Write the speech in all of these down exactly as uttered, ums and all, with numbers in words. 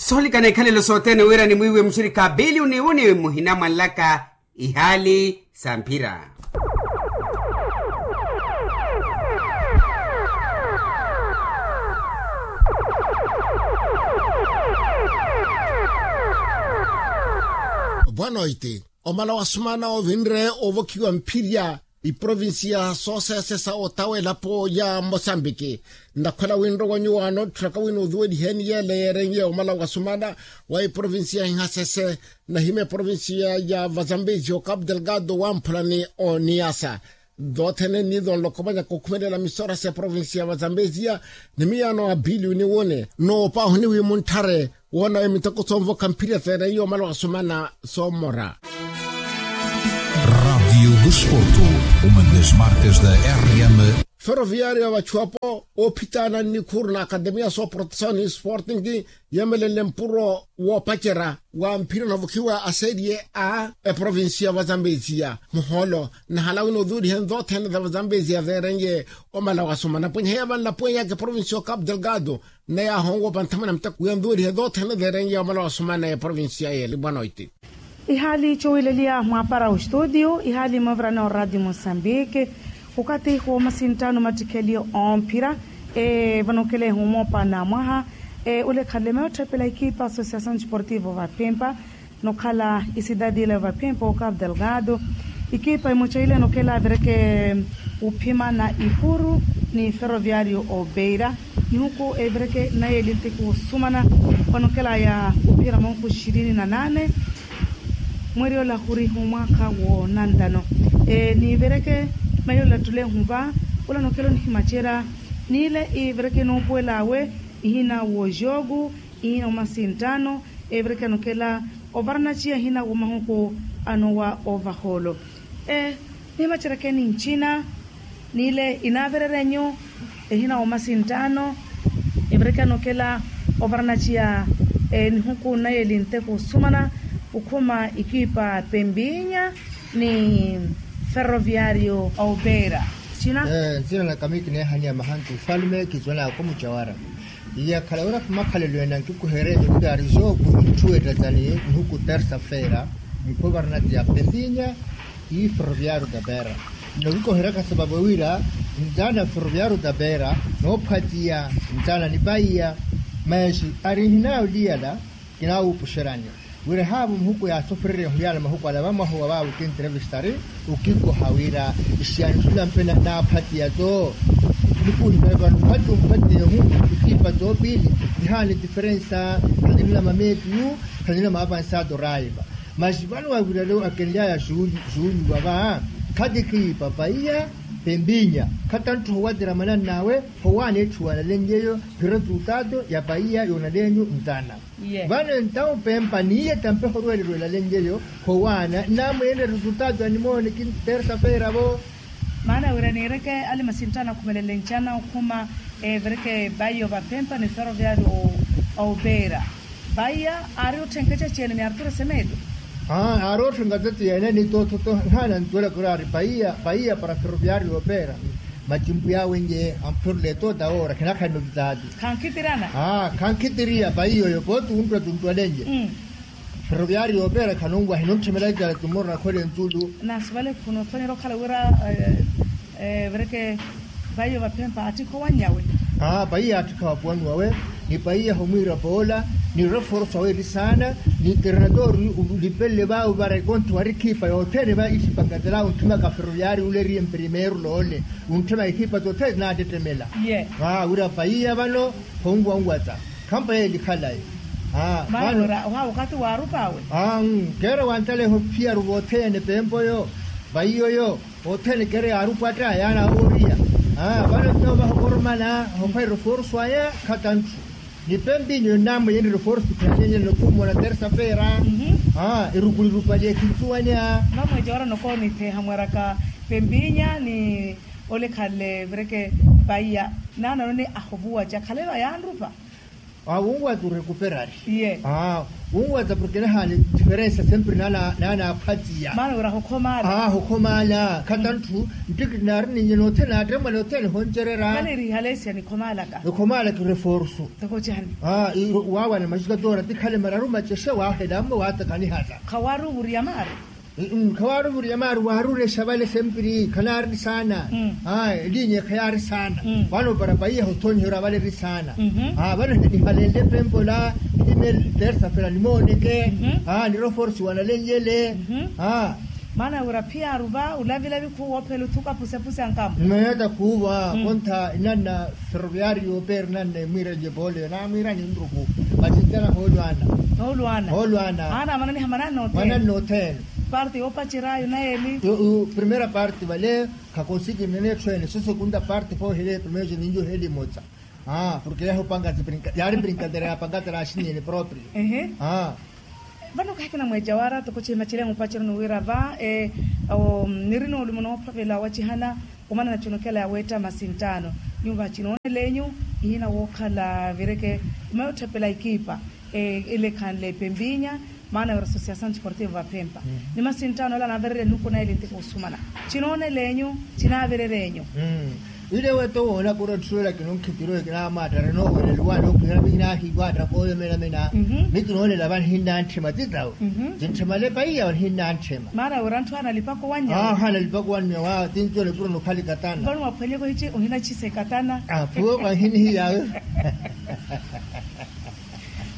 Soolika n'ikhalelo sothene wira nimwiiwe muxirikha pilioni wuni muhina mwanlaka ihaali sa mphira. Bwanoiti. Omala wa sumana ovinre ovokhiwa mphirya iprovinsiya soseesesa otawa elapo ya mosambiki. Ndakhwela winre wa nyuwaano tthuraka wina ozuweliheni yeele yeerenye omala wa sumana wa iprovinsiya inhasese nahima eprovinsiya ya vazambezi okapu delgado wamphulani oniyasa. Doothene ni doonlokomanyaka okhumelela misora s'eprovinsi ya vazambezia ni miyaano a pilioni wone noopaahuni wi muntthare woonawe miteko soonvokha mphirya seereiye omala wa sumana soomora. Rádio do Desporto, uma das marcas da R M. Ferroviário ya vachuwapo oophitaana nnikhuru na akademiya sooprotesawo ni sporting yeemelenle mpuro woopacerya wa mphira onavukhiwa a serie a eprovinsi ya vazambezia muhoolo nnahala wina ozuuliheni zothene za vazambezia veerenye omala wa sumana pwenye heya vanlapwenyaka eprovinsi ya okapu delgado nne yaahonwopa nthamana muteko wiya nzuulihe zothene zeerenye omala wa sumana ya eprovinsi ya yeeli bwanoiti. Ihaali cowiileliya mwaapara ostudio ihaali moovirana oradio mosambike. Okathi woomasinttaano mattikheliyo omphira vanookela ehumoopana mwaha. Ole khanle meyo otthephela ekipa associação desportivo vaphimpa nokhala isidadi ila vaphimpa okapu delgado. Ekipa emoca ile nokela evireke uphimana ipuru ni ferroviario obeira nihuku evireke naye elintiku osumana. Vanokelaya uphira mahuku ishirini na nane. Mweeri ola khuriha omwaakha woonantano. Niivireke mayi ola ttulehu va ola nokela onihimacerya. Niile ivireke noopuwel'awe ihina w'ojogu ihina omasinttaano. Evireke anokela ovaranaciya ihina w'omahuku anowa ovahoolo. Nihimaceryakeni ncina. Niile inaavereryanyu ehina w'omasinttaano. Evireke anokela ovaranaciya nihuku naye elinteku osumana okhuma ekipa pempinya ni ferroviario aupera. Ncina. Ncina na kami kineehaniya mahantu ufalme kisuwela ako mucawara. Iyakhala wira khumakhalelo ene ankikuhererye wira ari jooku itthu ettacani nihuku tersa-feira. Nkhuvarnati ya pempinya i ferroviario da beira. Nokikoheraka sababu wira nzana ferroviario da beira noophwatiya nzana ni paiya. Manxi ari nhinaawo liyala kinaawuupuxerani wira ehaavo muhuku yaasofererye ohuyala mahuku ala vamwaha owa vaawe okintrevistari okikoha wira ixiyani tthu nampe naaphatiya tso. Nikuuhimela vano phati omphatiyehu ikipa tsoopili zihaani diferensa. Khaninlama meepiyu khaninlama avansado raiva. Maxi vano wavirale akenlyaya juulu juulu vava khati kiipa paiya pempinya. Khatantthu howatira manannawe howaana etthu wanalenlyeyo. Piresu tato ya paiya yoonalenyu ntana. Vano entawu pempa niiye tampeho orwelelo elalenlyeyo howaana nnamweenre resultado ya nimoone kintersa feera vo. Maana wira niireke ali masinttano akhumelele ncana okhuma evireke paiya ovapempa ni ferroviario. Oupera paiya aari otthenka ecacene ni arturo semedo. Aari otthenka ecacene ni tothoto nhaana ntuwelaka ori ari paiya paiya para ferroviario oupera. Matimpu yaawenye ampherule toota oora khinakhalina ovitaati. Khankhitirana. Khankhitiriya paiya oyo pooti wunttwa tunttwalenye. Ferroviario opeera khanunwahi nuntthimelaka icala tumorona khole ntsulu. Naasivale khunoothonyera okhala wira evireke paiya vaphempa attikha owanyawe. Paiya attikha vapuwani wawe ni paiya homwiira poola ni reforso awe eri saana. Ni ternatori ulipelele vaawe vara ekonti wari ekhipa yothene va ixipangatelaya untthimaka ferroviario ule eriye mprimeiro loole. Untthimaka ekhipa tothene tinaatettemela. Wira paiya vano khonwanwata khampa yeeli khalayi. Maana ora ohawa okathi waarupa awe. Keera wantaleha ophiyaru vothene pempa oyo. Vaiyo oyo othene keera yaarupa atta yaana awooriya. Vano nto vahokoromana hokhwera reforso aya khatantthu. Ni pempa inyo nnamweyeni reforso khanenyene nokhumona tersa feera. Erukulirupa lyeekhinsuwanya. Vamweece ora nokoonitheha mweraka pempinya ni ole khale vireke paiya naananoni ahovuwaca khale vayaanrupa. Wunwaza orecuperari. Wunwaza porke nahaani diferensa sempre naana aphwatiya. Maana wira hukhomaala. Hukhomaala khata ntthu. Nttiki naari ninye nothene naattemmwa nothene honcererya. Khanirihalesia nikhomaalaka. Nikhomaalaka reforsu. Toko cani? Waawana maxikatora tikhale mararu macexe waahela mmo waatakanihala. Khawaari ovuriya maari. Khawaari ovuriya maari waarurexa vale sempiri khanaari saana. Elinya khayaari saana. Vano para paiya hothoniherya vale eri saana. Vano nihalenle pempola. Ime tersa fera nimooneke. Niro forsi wanalenlyele. Maana wira phiyaaru va olavilavi khuwoophela othuka pusepuse ankamo. Mmeeta khuuva. Kontha inanna ferroviario peri nanne mwiirelye poole naamwiirani nruku. Masi ntana hoolwaana. Hoolwaana. Hoolwaana. Aana amananiha mananna othene. Mananna othene. Parte yoopacerya ayo naye eli. Primera parte vale. Khakonsiki nene etthu ene so segunda parte poohele primera ninyo heli motsa. Porke yaahupanga yaari brinkadeira yaapanga tera axiniyene proprio. Vano kahi kinamweeja wara toko cihimacelya mupaceroni wira va niri noolumo noophavela wacihana. Omana na conokela ya weetta masinttaano. Nyuva cinoonel'enyu ihina wookhala vireke. Meyo otthepela ekipa ele ekhanle pempinya. Maana wira associação desportivo vapempa ni masinttaano ala anaavirerya nihuku naye eli ntiko osumana. Cinoonel'enyu cinaavirer'enyu. Ile wetta owoona kura otthulela kinonkhitiro kinamaattara noowelela owaana okhwihela mikinaahiwaatta kooyo menamena. Mikinoolela vanihinnantthema titawe. Tintthemale paiya vanihinnantthema. Maana wira antthu ahanalipaka owannya. Ahanalipaka owannya waawo tinci ole puro nokhali katana. Vano waphwanyeka ohici ohinachisa ekatana. Phuwo wahinihiyawe.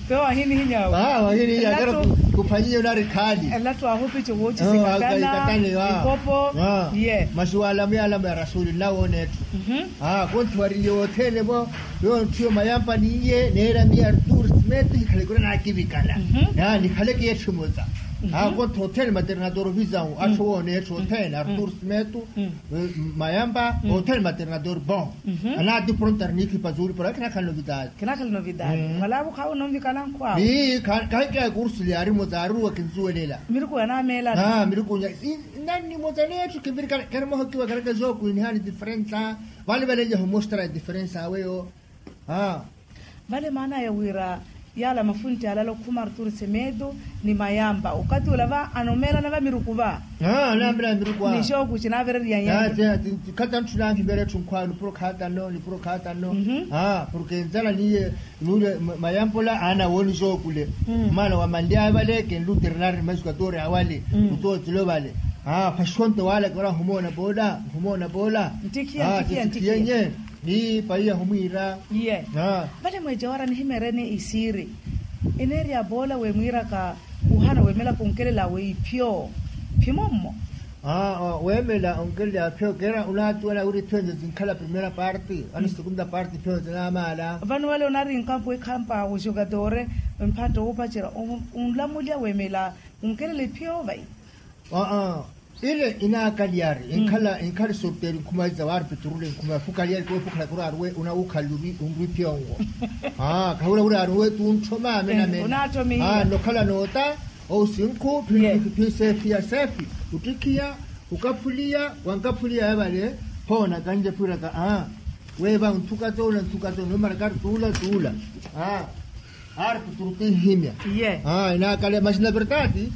Phuwo wahinihiyawe. Wahinihiyawe kero. Kuphwanyiye onari khaali. Elattu ahupici woochisa ekatana. Ikopo. Ye masi waalamo yaalamo ya rasuli nnawoona etthu. Konthiwariye wothene vo. Yoonthiyo mayampa niye neera miya artur smith hikhale kura naakivikana. Nikhaleke yetthu emosa. Kontha othene maternador visawu atthu woona etthu othene artur smith. Mayampa othene maternador bon. Anaati pronto ari niikhipa zuuli pora kinaakhala novidade. Kinaakhala novidade. Wala avo khaawo ononvikana nkhu awo. Kahikaya kursu lyaari emosa aaruwa kinsuwelela. Miruku yanaameelana. Miruku nya. Nnani emosa netthu kinvirikana keri mohokiwa kereke zookwinihani diferensa. Vale valenlyahu mostra ya diferensa aweyo. Vale maana ya wira yaala mafuntti alala okhuma artur semedo ni mayampa okathi ola va anomeelana va miruku va. Anaamela miruku a. Ni xooku cinaavereriya nyayi. Khata ntthuna anhimera etthu nkhwawe nipuro khaatano nipuro khaatano. Porke nzala niye nuule mayampa ola aana wooni xookule. Maana wamanly'aya vale kenlu ternar ni maxikatori awale. Kutootilo vale. Phaxonto waalaka ora nhumoona poola nhumoona poola. Ntikhiya ntikhiya ntikhiya. Ni paiya humwiira. Iye. Vale mweeja wara nihimeereni isiiri. Eneerya poola wemwiiraka wuhana weemela khunkelela awe iphyo phimommo. Weemela onkelela aphyo kera unaatuwela wira iphyo nze zinkhala primera parte vano segunda parte iphyo nze naamaala. Vano wale onari nkampu ekhampa wojokatore mpatto woopacerya onlamulya weemela onkelela iphyo vai. Aa ile inaakaliyari inkhala inkhali sorteri nkhuma za waari piturule nkhuma ya fukaliyari koofukhala kuraari we unawukhalili unrwi pyongo. Kahula kuraari we tunthoma amenamena. Nokhala noota ousinkhu phisefiya sefi uttikhiya ukaphuliya wankaphuliya yavale. Phoona kanjephwiraka aa weeva unthuka toona nthuka toona nomarakari tuula tuula. Aari kuturu tinhimya. Inaakale masi na verdade.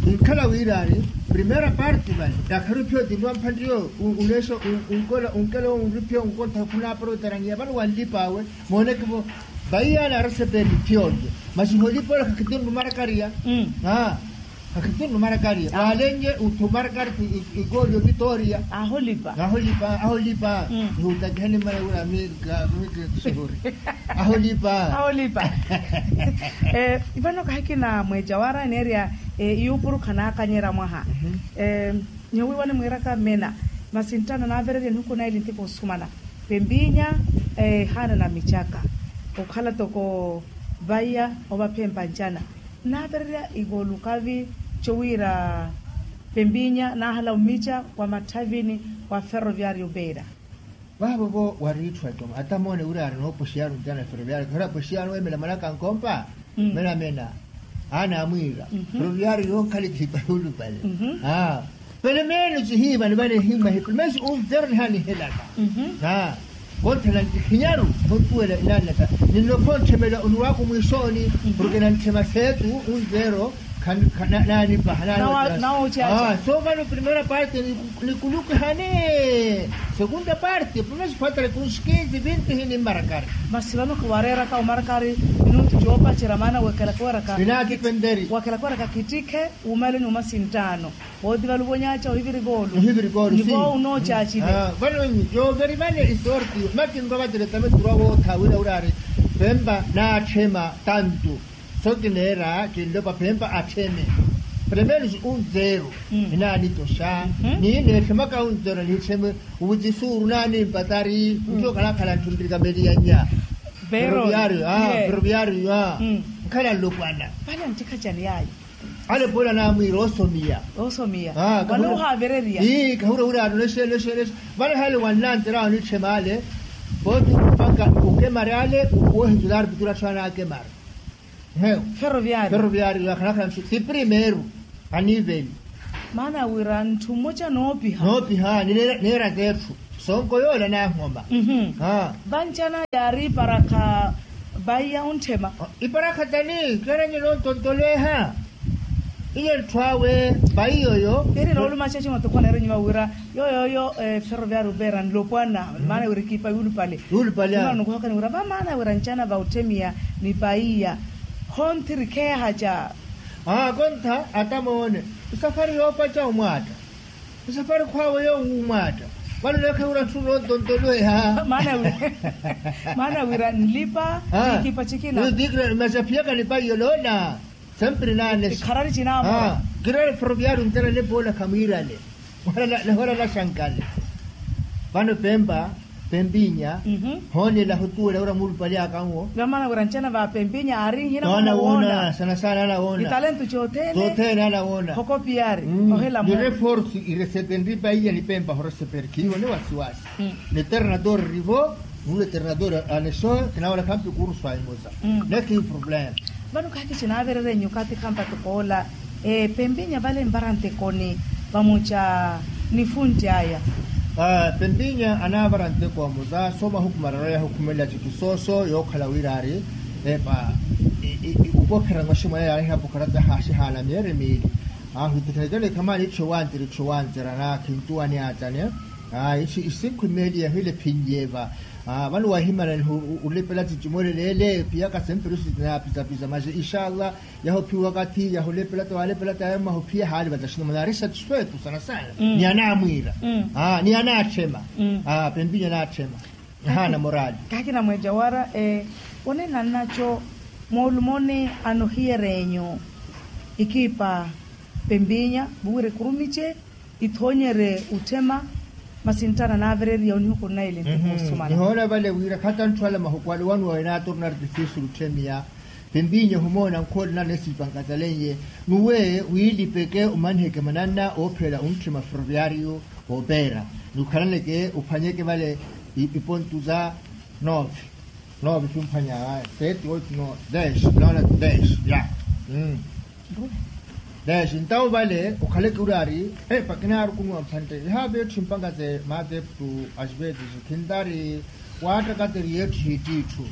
Inkhala wiiraari primera parte vale yakharu iphiyo tinrwa mphanriyo uneexa unkela unriphiyo nkontha khunaaparotera ngiya vano wanlipaawe. Moonekivo vaiya naaraseperi iphiyo nje masi holipa ola khakhitinru marakariya. Akhitunnu marakari waalenye uthu marakari. Ikooli ovitoria aholipa aholipa. Ihutakihani mmana wira miika miika tusihuri aholipa. Aholipa. Vano kahikina mweeja wara eneerya iyuupuru khanaakanyerya mwaha. Nyowiiwani mwiiraka mmena masi nttana naavererya nihuku naili nttiko osumana. Pempinya ehaana na micaka okhala toko vaiya ovapempa ncana. Naavererya ikoolukavi cowiira pempinya naahala omica wa matthavini wa ferroviario beira. Vaavo vo wariitthu atoma atamoone wira ari noopoxiyano ncana ferroviario kihora apoxiyano emela mwanaka nkompa. Menamena aana amwiira ferroviario yonkhala ecihipa yuulupale. Pele meeno cihiivani vale himma hipule meesi unzero nihanihelaka. Konthela ntikhinyaru. Khontuwela inanlaka, ninlopha ontthemela oniwaku mwiixooni. Porke nantthema seetu unzeero. Naanipaha. Naawooceaca. So vano primeira parte, nikulukiha ni segunda parte primeira sifatara kunsikinzi vinti hini mmarakari. Masi vano khiwareeraka omarakari minutu coopacerya maana weekela khiweraka. Inaatipenteri. Weekela khiweraka kittikhe. Wuumeeleni omasinttaano. Wooti valuvonyaaca ohivirikoolu. Ohivirikoolu. Nivo unoocaacile. Vano yooverivale isorti makinrovateletame turwa wootha wira wiraari. Pempa naatthema tantu. So kineera kinlopa pempa attheme. Primeiro unzeero. Inaanitoxa. Nineetthemaka unzeero niittheme. Uvucisuuru naanimpatari ntthu okhalakhala ntthu nrikameliyanya. Ferroviario. Nkhala nlopwana. Vale nttikhacani yaayo. Ale poola naamwiira osomiya. Osomiya. Vale ohaavereriya. Kahura hura ano nexe nexe nexe. Vale hale wanlantera onitthemale. Pooti mpakha ukemare ale. Woohitula arpituru atthu anaakemara. Ferroviario. Ferroviario akhalakhala ntthu ti primeiro. Aniveli. Maana wira ntthu mmoca noopiha. Noopiha. Neera zeetthu. Sonko yoola naahoma. Vanci ana yaari iparakha. Vaiya ontthema. Iparakha tani keera nyina ontontolweha. Iye ntthu awe. Vaiya oyo. Iri noolumaxa cimotokho neera nyuma wira yooyooyo. Ferroviario veera nlopwana. Maana wira ekipa yuulupale. Yuulupale. Nikuhokani wira vamaana wira ncana va otthemiya ni vaiya. Khonthiri kheehaca. Aa kontha atamoone. Esafari yoopaca omwaatta. Esafari khwaawe yoowo omwaatta. Vano neekheura ntthu noontontolweha. Maana wira nlipa. Nikipa cikina. Masi aphiyaka ni vaiya oloona. Sempre naanesi. Ikharari cinaamora. Kirale ferroviario nterale poola khamwiirale. Nahora naxankale. Vano pempa pempinya. Hoonela hotuwela ura muulupale akanwo. Vamaana wira ncana va pempinya aari nhina. Anawoona sana sana anawoona. Italentu cothene. Cothene anawoona. Hokopiari. Ohela mo. Nireforce iresepe nripa iya ni pempa horesepe eri khiivo ni wasiwasi. Ni eternador rivo. Nule eternador aneso kinawoona khampi kurusu aimosa. Nethi problema. Vano khakici naavererya nyukathi khampa tukoola. Pempinya vale nvara ntekoni vamuca nifunti aya. Pempinya anaavara nteko amuza so mahuku mararu yahukhumelela cikisoso yookhala wira ari epa. Upokhera nwaximwene yaariha pokhera tahaaxihaana myeeri miili. Ahwitikhanekene khamaani itthu ewantira itthu ewantirana khintuwa ni atane. Isinkhu imeeli yahile phinyeeva. Vano wahimana nihu ulepela cicimolele ele piyaka sempiri sitinaapisa pisa maxi inshallah. Yahuphiwa wakathi yahulepela ta walepela ta yamahuphiya haali vataxina manaari satisfeito sana sana. Ni anaamwiira ni anaatthema. Pempinya anaatthema. Ahaana morali. Kaakina mweja wara. One nannaco moolumoni anohiyerenyu ikipa pempinya vuwira ekurumice ithoonyerye otthema. Masi nttana naavereriya onihuku nnaili ntthu kuusumana. Nihoona vale wira khata ntthu ala mahuku ale wanu wawe naatorna artifisi lutthemiya. Pempinya ohumoona nkhoole nana esipanka talenye nuwe wiilipeke omaniheke mananna oophelela ontthema ferroviario. Oopeera ni okhalaneke ophwanyeke vale ipontu za nove. Nove simphwanya sete oito nove dez nona dez ya. Dez ntawo vale okhaleke uri ari epa kinaarukunuwa mphante ihaave etthu mpangase maateptu. Asipetisi khintari waattakateri yetthu hititthu.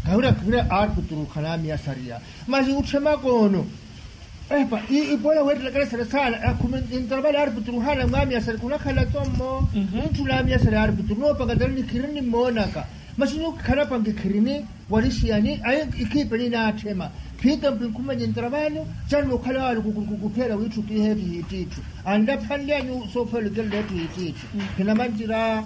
Kahira kahira arpituru khanaamiyasariya masi utthemaka ono. Epa ipola weettelakale sale saana akhume. Ntarapale arpituru haana mwaamiyasari khunakhala tommo. Mutthu naamiyasari arpituru noopakatari nikhirini mmoonaka. Masi nyuwo kikhalapa nkikhirini walixiyani ayi ikhiipeni naatthema. Phiitampi nkhumenye ntarapale. Canno okhala waali kukupheela wiitthu kiiheetti hiittiitthu anlaphanly'anyu soopheela ocelela etthu hiittiitthu. Khinamanjira.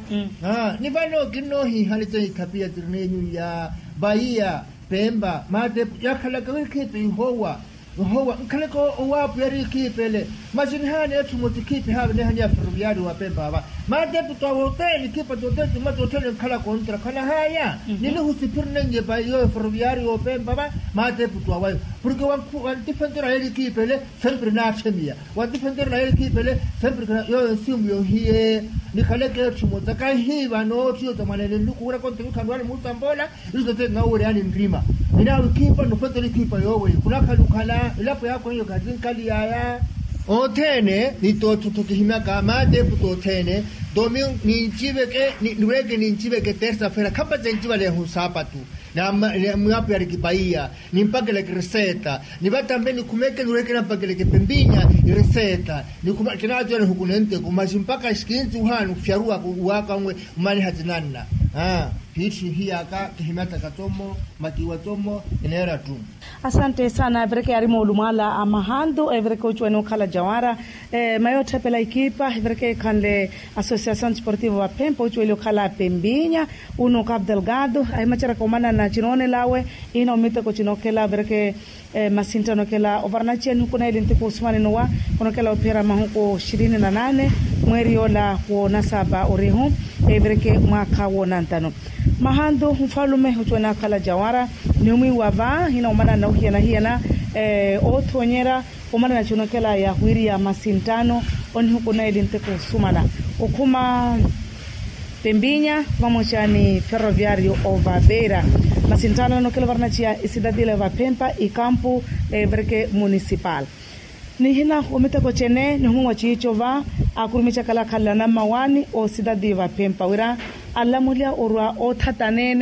Ni vano kinnoohiihani teikhapia tirin'enyu iya vaiya pempa maatepu yakhalaka wira ikhiipi ihowa. Ihowa nkhaleke owaapwiya eri ikhiipi ele. Masi nihaana etthu emosi ikhiipi ehaavenehani ya ferroviario wa pempa ava. Maatepu twa wothene ikhiipa tothene timma tothene nkhala kontra khanahaya. Ninihusiphiri nennye pa iyo ferroviario wa pempa ava. Maatepu twa wayo porke wantifentera yeli ikhiipi ele. Sempre naatthemiya wantifentera na yeli ikhiipi ele. Sempre yoyo nsimu yohiye nikhaleke etthu emosi kahiiva nootthiyo tamwanene nluku wira kontra wikhanwani muutamboola. Iso tete nawoweryaani nrima. Ninaawe ikhiipa nofentela ikhiipa yooweyo khunakhala okhala elapo yaakhu eyo khatinkhali yaya. Othene ni tootho kihimyaka maatepu tothene. Domingo ninciveke, nireke ninciveke tersa-fera khapace ncivalehu saapatu. Namwapihariki paiya, nimpakeleke iriseta. Nivatampe nikhumeke nireke nampakeleke pempinya iriseta. Nikhuma kinatiyona hukunenteku masi mpaka sikinsi uhanu fyaruwaka uwaka nwe. Umaniha tinanna. Aa, phiithi hiyaka kihimyataka tsomo, makiwa tsomo. Eneera ttu. Asante sana evireke yaari moolumwala a mahantu evireke ocuwene okhala jawara. Mayo otthepela ekipa evireke ekhanle associacion desportivo vaphempa ocuwele okhala pempinya. Uno capo delgado ahimaceraka omanana cinoonelawe. Ihina omiteko cinokhela evireke masinttano okhela ovaranaciya nihuku naili ntiku osumanino wa khonokela ophiyera mahuku xirini na nane mweeri yoola woonasapa orihu. Evireke mwaakha woonantano mahantu nfalume ocuwene akhala jawara. Ni omwiiwa va hina omanana ohiyana hiyana othonyera omanana cunokela yahwiriya masinttano onihuku naili ntiku osumana okhuma pempinya vamoca ni ferroviario ovapera. Masinttano anokhela ovaranaciya esidadila vaphempa ikampu evireke municipal. Nihina omiteko cene nihumwiwa ciico va akurumicakala akhalelana mmawaani osidadi vaphempa wira alamuliya orwa oothatanene.